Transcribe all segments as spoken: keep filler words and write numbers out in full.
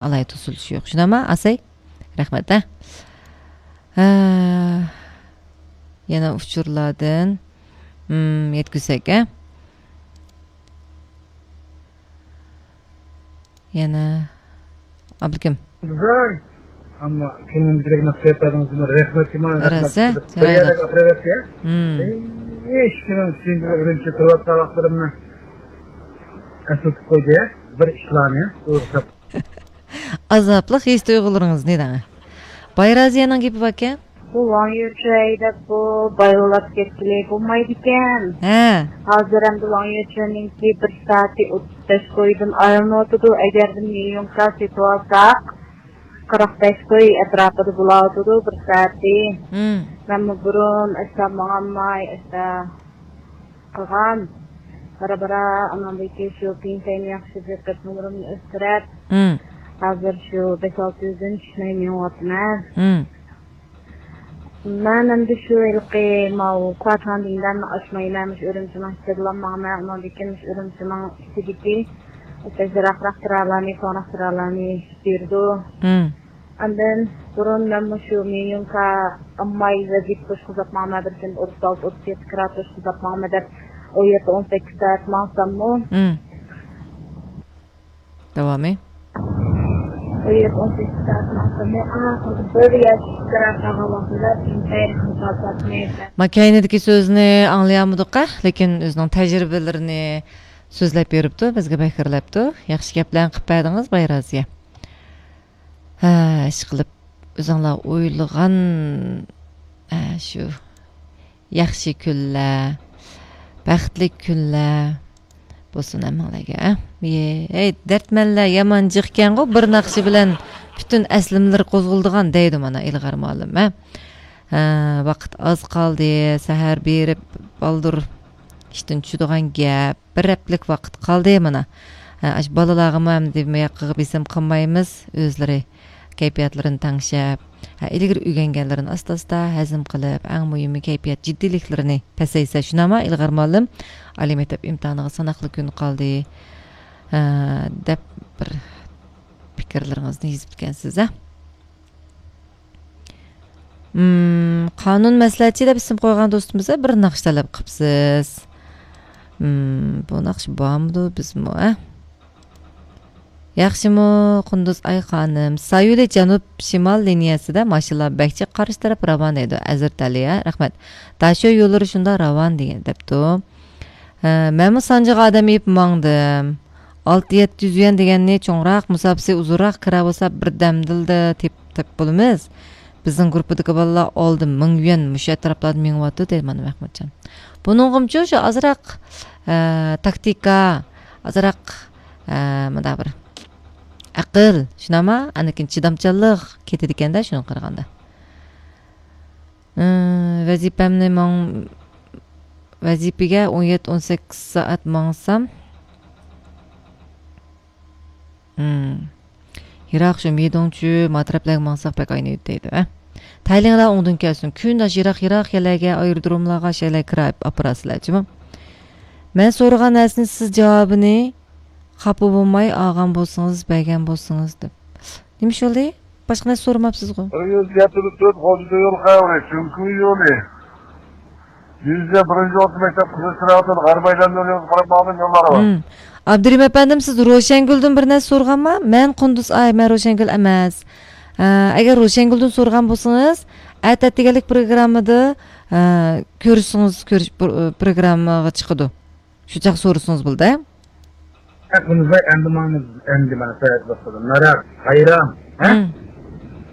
ئالاھىدە توسۇلۇشى يوق. شۇنداقمۇ، ئاسەي؟ رەھمەت، ھە؟ ھە. يەنە ئۇچۇرلاردىن، مم، يەتكۈزسەك، ھە؟ يەنە ئابلىكىم. زور. ئەمما كۆڭلۈمدىكىدەك نەق سۆزلەردىڭىز، رەھمەت، رەھمەت. راست، ھە؟ بىر يەردە ئاپىرىۋەتتى، ھە؟ مم. ھېچ كىمنىڭ ئۈستىدە ئۈرۈمچى تۇرۇۋاتقان ۋاقىتلىرىمنى ئەسلىتىپ قويدى، ھە؟ بىر ئىشلارنى. ئازابلىق ھېس تۇيغۇلىرىڭىزنى دەڭ. بايرازىيەنىڭ گېپى باركەن. بۇ ۋاڭ يۈچۈەي دەپ بۇ بايغۇلاپ كەتكىلى بولمايدىكەن. ھە. ھازىر ئەمدى ۋاڭ يۈچۈەننىڭكى بىر سائىتى ئوتتۇز بەش كويدىن ئايلىنىۋاتىدۇ. ئەگەردە مىليونكا سېتىۋالساق، قىرىق بەش كوي ئەتراپىدا بولاۋاتىدۇ بىر سائىتى. مم. مەنمۇ بۇرۇن ئەسلا ماڭالماي، ئەسلا قىلغان. بارا-بارا ئاناندىكى شۇ پېنسىيەمنى ياخشى بېقىپ، نومۇرۇمنى ئۆستۈرۈپ، مم. ھازىر شۇ بەش-ئالتە يۈزدىن چۈشمەي مېڭىۋاتىمەن. مم. مەن ئەمدى شۇ ھېلىقى ماۋۇ كۇۋاتىڭدىن ئاشمايمەن، مۇشۇ ئۈرۈمچىنىڭ ئىچىدىلا ماڭىمەن، ئۇنىڭدىن كېيىن مۇشۇ ئۈرۈمچىنىڭ ئىچىدىكى يىراقراق تۇرالارنى، سوراق تۇرالارنى بېرىدۇ. مم. ئاندىن بۇرۇن مەن مۇشۇ مىليونكا ئامماي ۋەزىپە توشقۇزۇپ ماڭىمەن، بىر كۈندە ئوتتۇز ئالتە، ئوتتۇز يەتتە كىرا توشقۇزۇپ ماڭىمەن دەپ، ئون يەتتە، ئون سەككىز سائەت ماڭساممۇ. مم. داۋامى؟ ئون يەتتە، ئون سەككىز سائەت ماڭساممۇ، ئاخىرىدا بىر ياش كىرا قالغان ۋاقتىدا ئىنتايىن مۇكاپاتنى. ما كەينىدىكى سۆزنى ئاڭلىيالمىدۇق، لېكىن ئۆزىنىڭ تەجرىبىلىرىنى سۆزلەپ بېرىپتۇ، بىزگە بەكرىلەپتۇ. ياخشى گەپلەرنى قىلىپ بەردىڭىز، بايرازىيە. ھە، ئىشقىلىپ، ئۆزۈڭلار ئويلىغان، ھە، شۇ ياخشى كۈنلەر، بەختلىك كۈنلەر بولسۇن ھەممىڭلارغا، ھە. ھەي، دەردمەنلەر يامان جىقكەنغۇ، بىر ناخشا بىلەن پۈتۈن ئەسلىمىلىرى قوزغىلىدىغان دەيدۇ مانا ئىلغار مۇئەللىم، ھە. ھە، ۋاقىت ئاز قالدى، سەھەر بېرىپ بالدۇر ئىشتىن چۈشىدىغان گەپ. بىر ھەپتىلىك ۋاقىت قالدى مانا. ھە، ئاشۇ بالىلارغىمۇ ئەمدى مۇياققىغا بېسىم قىلمايمىز، ئۆزلىرى كەيپىياتلىرىنى تەڭشەپ، ھە، ئىلگىرى ئۆگەنگەنلىرىنى ئاستا-ئاستا ھەزىم قىلىپ، ئەڭ مۇھىمى كەيپىيات جىددىيلىكلىرىنى پەسەيسە، شۇنداقمۇ ئىلغار مۇئەللىم؟ ئالىي مەكتەپ ئىمتىھانىغا ساناقلا كۈن قالدى، ھە، دەپ بىر پىكىرلىرىڭىزنى يېزىپتىكەنسىز، ھە. مم، قانۇن مەسلىھەتچى دەپ ئىسىم قويغان دوستىمىزغا بىر ناخشا تەلەپ قىپسىز. مم، بۇ ناخشا بارمىدۇ بىزمۇ، ئە؟ ياخشىمۇ، قۇندۇز ئاي خانىم؟ سايولى جەنۇب شىمال لىنىيەسىدە ماشىنىلار بەك جىق قارشى تەرەپ راۋان دەيدۇ. ئەزىرتەلى، ھە؟ رەھمەت. داشۆ يوللىرى شۇنداق راۋان دېگەن، دەپتۇ. ھە، مەنمۇ سانجىغا ئادەم ئېلىپ ماڭدىم. ئالتە يەتتە يۈز يۈەن دېگەننى چوڭراق، مۇساپىسى ئۇزۇنراق كىرا بولسا بىردەمدىلا تېپىپ، تېپىپ بولىمىز. بىزنىڭ گۇرۇپپىدىكى بالىلار ئالدى مىڭ يۈەن مۇشۇ ئەتراپلاردا مېڭىۋاتىدۇ دەيدۇ مانا مەھمۇتجان. بۇنىڭغىمۇچۇ شۇ ئازراق، ئە، تاكتىكا، ئازراق، ئە، مۇنداق بىر ئەقىل، شۇنداقما؟ ئاندىن كېيىن چىدامچانلىق كېتىدىكەندە شۇنىڭغا قارىغاندا. ئى، ۋەزىپەمنى ماڭ-، ۋەزىپىگە ئون يەتتە، ئون سەككىز سائەت ماڭسام، ئىم، يىراق شۇ مىدوڭچۈ، ما تەرەپلەرگە ماڭساق بەك ئاينىيدۇ دەيدۇ، ھە؟ تەيلىڭلار ئوڭدىن كەلسۇن، كۈنداش يىراق، يىراق يەرلەرگە، ئايرودروملارغا، شەيلەرگە كىرا ئاپىراسىلەر جۇمۇ. مەن سورىغان نەرسىنى سىز جاۋابىنى خاپا بولماي ئالغان بولسىڭىز، بەرگەن بولسىڭىز دەپ. نېمە ئىش بولدى؟ باشقا نەرسە سورىماپسىزغۇ؟ بىر يۈز يەتتە تۆت خوجا يول خەۋىرى، چۈنكى يولى. يۈز بىرىنچى ئوتتۇز مەكتەپ قىزىل چىراغدىن غەربىي ئايلاندۇرۇش يولىغا قاراپ ماڭىدىغان يوللار بار. ھىم. ئابدۇرېھىم ئەپەندىم، سىز روشەنگۈلدىن بىر نەرسە سورىغانما؟ مەن قۇندۇز ئاي، مەن روشەنگۈل ئەمەس. ئە، ئەگەر روشەنگۈلدىن سورىغان بولسىڭىز، ئەتە ئەتىگەنلىك پروگراممىدا، ئە، كۆرۈشسىڭىز، كۆرۈش، پر-، پروگراممىغا چىقىدۇ. شۇ چاغ سورىسىڭىز بولىدۇ. ھە، بۇنى ئەمدى ماڭىمىز، ئەمدى مانا ساياھەت باشلىدى. مەرەب، ھايرام، ھە؟ ھىم.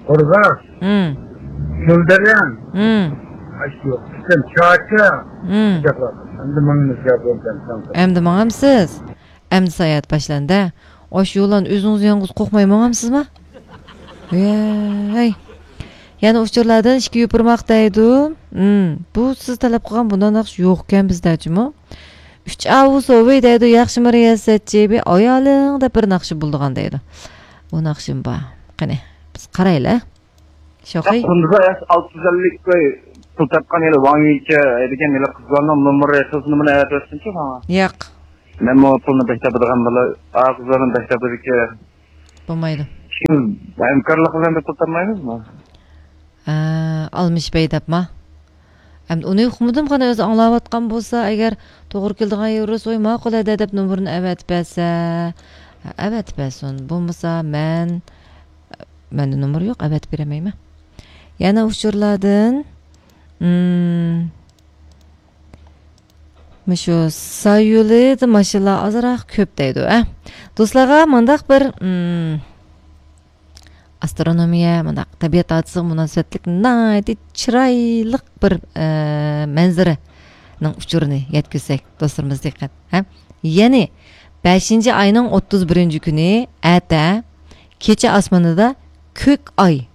قورغاس، ھىم. شۆلدەرەن. ھىم. ئاشۇ يوق. پۈتۈن چاچا. ھىم. ئەمدى ماڭىمىز، يا بولدى، ئەمدى. ئەمدى ماڭامسىز؟ ئەمدى ساياھەت باشلاندى. ئاشۇ يولان ئۆزىڭىز يالغۇز قورقماي ماڭامسىزما؟ ۋەي. يەنە ئۇچۇرلاردىن ئىككى يوپۇرماق دەيدۇ. ھىم، بۇ سىز تەلەپ قىلغان بۇنداق ناخشا يوقكەن بىزدە جۇمۇ. ئۈچ ئاۋۇ سوۋى دەيدۇ، ياخشىمۇ رىياسەتچى، بىر ئايالىڭ دەپ بىر ناخشا بولىدىغان دەيدۇ. بۇ ناخشىمۇ بار. قېنى، بىز قارايلى. شوخى. قۇندۇزدا ئەس ئالتە يۈز ئەللىك كوي پۇل تاپقان ھېلى ۋاڭ يىچە دېگەن ھېلى قىزلارنىڭ نومۇرى، خىز نومۇرىنى ئەۋەتىۋەتسىنچۇ ماڭا. ياق. مەنمۇ پۇلنى بەك تاپىدىغان بالا. ئا، قىزلارنى بەك تاپىدىكەن. بولمايدۇ. كىم ھەمكارلىق بىلەن دەپ ئولتۇرمايمىزمۇ؟ ئە، ئالمىشىپ ھەيدەپما؟ ئەمدى ئۇنى ئۇقمىدىم، قانا ئۆزى ئاڭلاۋاتقان بولسا، ئەگەر توغرا كېلىدىغان يەر بولسا، ۋوي، ماقۇل ھەدە دەپ نومۇرىنى ئەۋەتىپ بەرسە، ئەۋەتىپ بەرسۇن. بولمىسا مەن، مەندە نومۇر يوق، ئەۋەتىپ بېرەلمەيمەن. يەنە ئۇچۇرلاردىن، مم، مۇشۇ سايۇلىدا ماشىنىلار ئازراق كۆپ دەيدۇ، ئە. دوستلارغا مۇنداق بىر، مم، ئاسترونومىيە، مۇنداق تەبىئەت ھادىسىسىغا مۇناسىۋەتلىك ناھايىتى چىرايلىق بىر، ئە، مەنزىرىنىڭ ئۇچۇرىنى يەتكۈزسەك، دوستلىرىمىز دىققەت، ھە؟ يەنى بەشىنچى ئاينىڭ ئوتتۇز بىرىنچى كۈنى ئەتە كېچە ئاسمىنىدا كۆك ئاي،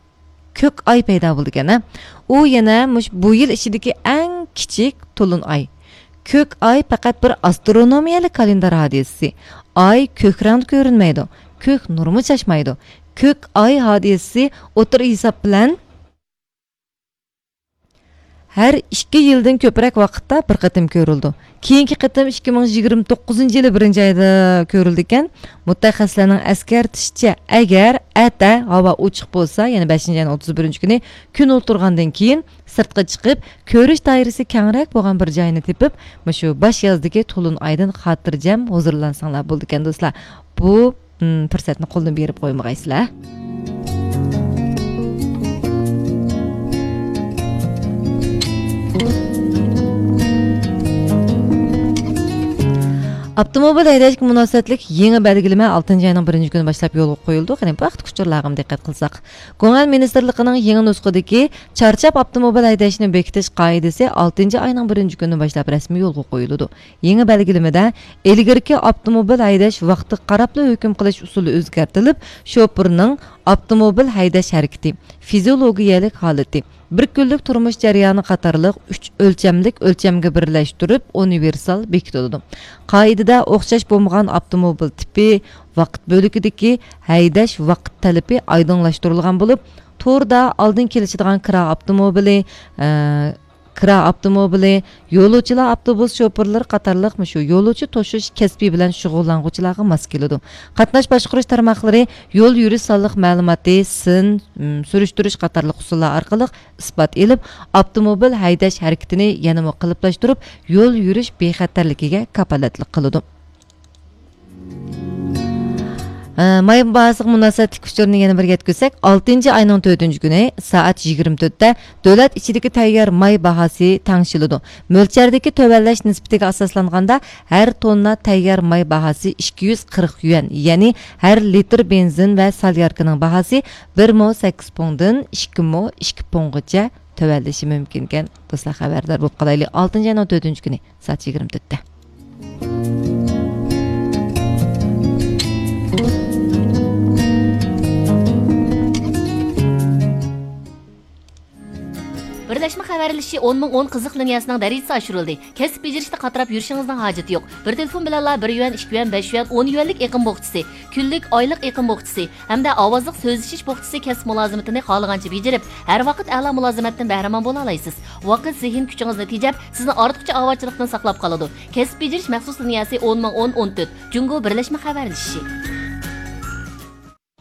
كۆك ئاي پەيدا بولىدىكەن، ھە؟ ئۇ يەنە مۇش-، بۇ يىل ئىچىدىكى ئەڭ كىچىك تولۇن ئاي. كۆك ئاي پەقەت بىر ئاسترونومىيەلىك كالېندار ھادىسىسى. ئاي كۆك رەڭدە كۆرۈنمەيدۇ، كۆك نۇرمۇ چاچمايدۇ. كۆك ئاي ھادىسىسى ئوتتۇرا ھېساب بىلەن ھەر ئىككى يىلدىن كۆپرەك ۋاقىتتا بىر قېتىم كۆرۈلىدۇ. كېيىنكى قېتىم ئىككى مىڭ يىگىرمە توققۇزىنچى يىلى بىرىنچى ئايدا كۆرۈلىدىكەن. مۇتەخەسسىسلەرنىڭ ئەسكەرتىشىچە، ئەگەر ئەتە ھاۋا ئوچۇق بولسا، يەنى بەشىنچى ئاينىڭ ئوتتۇز بىرىنچى كۈنى كۈن ئولتۇرغاندىن كېيىن سىرتقا چىقىپ، كۆرۈش دائىرىسى كەڭرەك بولغان بىر جاينى تېپىپ، مۇشۇ باش يازدىكى تولۇن ئايدىن خاتىرجەم ھۇزۇرلانساڭلار بولىدىكەن، دوستلار. بۇ، م، پۇرسەتنى قولدىن بېرىپ قويمىغايسىلەر. ئاپتوموبىل ھەيدەشكە مۇناسىۋەتلىك يېڭى بەلگىلىمە ئالتىنچى ئاينىڭ بىرىنچى كۈنى باشلاپ يولغا قويۇلىدۇ. قېنى، بۇ ھەقتىكى ئۇچۇرلارغىمۇ دىققەت قىلساق. گۇڭئەن مىنىستىرلىقىنىڭ يېڭى نۇسخىدىكى چارچاپ ئاپتوموبىل ھەيدەشنى بېكىتىش قائىدىسى ئالتىنچى ئاينىڭ بىرىنچى كۈنى باشلاپ رەسمىي يولغا قويۇلىدۇ. يېڭى بەلگىلىمىدە ئىلگىرىكى ئاپتوموبىل ھەيدەش ۋاقتىغا قاراپلا ھۆكۈم قىلىش ئۇسۇلى ئۆزگەرتىلىپ، شوپۇرنىڭ ئاپتوموبىل ھەيدەش ھەرىكىتى، فىزىيولوگىيەلىك ھالىتى، بىر كۈنلۈك تۇرمۇش جەريانى قاتارلىق ئۈچ ئۆلچەملىك ئۆلچەمگە بىرلەشتۈرۈپ ئۇنىۋېرسال بېكىتىلىدۇ. قائىدىدە ئوخشاش بولمىغان ئاپتوموبىل تىپى، ۋاقىت بۆلىكىدىكى ھەيدەش ۋاقىت تەلىپى ئايدىڭلاشتۇرۇلغان بولۇپ، توردا ئالدىن كېلىشىدىغان كىرا ئاپتوموبىلى، ئە، كىرا ئاپتوموبىلى، يولۇچىلار ئاپتوبۇس شوپۇرلىرى قاتارلىق مۇشۇ يولۇچى توشۇش كەسپى بىلەن شۇغۇللانغۇچىلارغا ماس كېلىدۇ. قاتناش باشقۇرۇش تارماقلىرى يول يۈرۈش سانلىق مەلۇماتى، سىن، م، سۈرۈشتۈرۈش قاتارلىق ئۇسۇللار ئارقىلىق ئىسپات ئېلىپ، ئاپتوموبىل ھەيدەش ھەرىكىتىنى يەنىمۇ قېلىپلاشتۇرۇپ، يول يۈرۈش بىخەتەرلىكىگە كاپالەتلىك قىلىدۇ. ئە، ماي باھاسىغا مۇناسىۋەتلىك ئۇچۇرنى يەنە بىر يەتكۈزسەك، ئالتىنچى ئاينىڭ تۆتىنچى كۈنى سائەت يىگىرمە تۆتتە دۆلەت ئىچىدىكى تەييار ماي باھاسى تەڭشىلىدۇ. مۆلچەردىكى تۆۋەنلەش نىسبىتىگە ئاساسلانغاندا، ھەر توننا تەييار ماي باھاسى ئىككى يۈز قىرىق يۈەن، يەنى ھەر لىتىر بېنزىن ۋە سولياركىنىڭ باھاسى بىر مو سەككىز پۇڭدىن ئىككى مو ئىككى پۇڭغىچە تۆۋەنلىشى مۇمكىنكەن. دوستلار، خەۋەردار بولۇپ قالايلى، ئالتىنچى ئاينىڭ تۆتىنچى كۈنى سائەت يىگىرمە تۆتتە. بىرلەشمە خەۋەرلىشىشى ئون مىڭ ئون قىزىق لىنىيەسىنىڭ دەرىجىسى ئاشۇرۇلدى. كەسىپ بېجىرىشتە قاتراپ يۈرۈشىڭىزنىڭ ھاجىتى يوق. بىر تېلېفون بىلەنلا بىر يۈەن، ئىككى يۈەن، بەش يۈەن، ئون يۈەنلىك ئېقىم بوخچىسى، كۈنلۈك، ئايلىق ئېقىم بوخچىسى ھەمدە ئاۋازلىق سۆزلىشىش بوخچىسى كەسىپ مۇلازىمىتىنى خالىغانچە بېجىرىپ، ھەر ۋاقىت ئەلا مۇلازىمەتتىن بەھرىمەن بولالايسىز. ۋاقىت، زېھىن كۈچىڭىزنى تېجەپ، سىزنى ئارتۇقچە ئاۋارىچىلىقتىن ساقلاپ قالىدۇ. كەسىپ بېجىرىش مەخسۇس لىنىيەسى ئون مىڭ ئون ئون تۆت، جۇڭگو بىرلەشمە خەۋەرلىشىشى.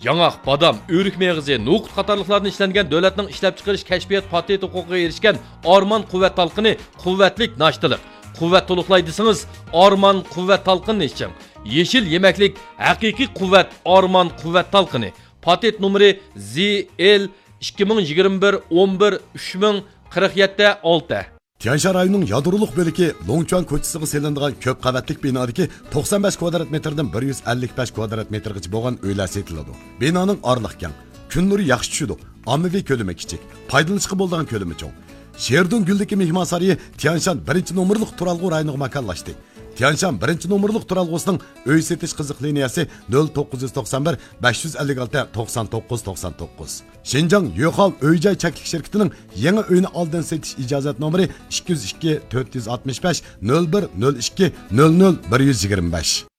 ياڭاق، بادام، ئۆرۈك مېغىزى، نوقۇت قاتارلىقلاردىن ئىشلەنگەن دۆلەتنىڭ ئىشلەپچىقىرىش كەشپىيات پاتېنت ھوقۇقىغا ئېرىشكەن ئارمان قۇۋۋەت تالقىنى، قۇۋۋەتلىك ناشتىلىق. قۇۋۋەت تولۇقلاي دېسىڭىز، ئارمان قۇۋۋەت تالقىنىنى ئىچىڭ. يېشىل يېمەكلىك، ھەقىقىي قۇۋۋەت، ئارمان قۇۋۋەت تالقىنى. پاتېنت نومۇرى زى ئېل ئىككى مىڭ يىگىرمە بىر ئون بىر ئۈچ مىڭ قىرىق يەتتە ئالتە. تيەنشان رايونىنىڭ يادرولۇق بۆلىكى لوڭچۈەن كوچىسىغا سېلىنىدىغان كۆپ قەۋەتلىك بىنادىكى توقسان بەش كۋادرات مېتىردىن بىر يۈز ئەللىك بەش كۋادرات مېتىرغىچە بولغان ئۆيلەر سېتىلىدۇ. بىنانىڭ ئارىلىقى كەڭ، كۈن نۇرى ياخشى چۈشىدۇ، ئاممىۋى كۆلىمى كىچىك، پايدىلىنىشقا بولىدىغان كۆلىمى چوڭ. شېردۇڭ گۈلدىكى مېھمانسارىيى تيەنشان بىرىنچى نومۇرلۇق تۇرالغۇ رايونىغا ماكانلاشتى. تيەنشان بىرىنچى نومۇرلۇق تۇرالغۇسىنىڭ ئۆي سېتىش قىزىق لىنىيەسى نۆل توققۇز يۈز توقسان بىر، بەش يۈز ئەللىك ئالتە، توقسان توققۇز، توقسان توققۇز. شىنجاڭ يۆخاۋ ئۆي جاي چەكلىك شىركىتىنىڭ يېڭى ئۆينى ئالدىن سېتىش ئىجازەت نومۇرى ئىككى يۈز ئىككى، تۆت يۈز ئاتمىش بەش، نۆل بىر، نۆل ئىككى، نۆل نۆل، بىر يۈز يىگىرمە بەش.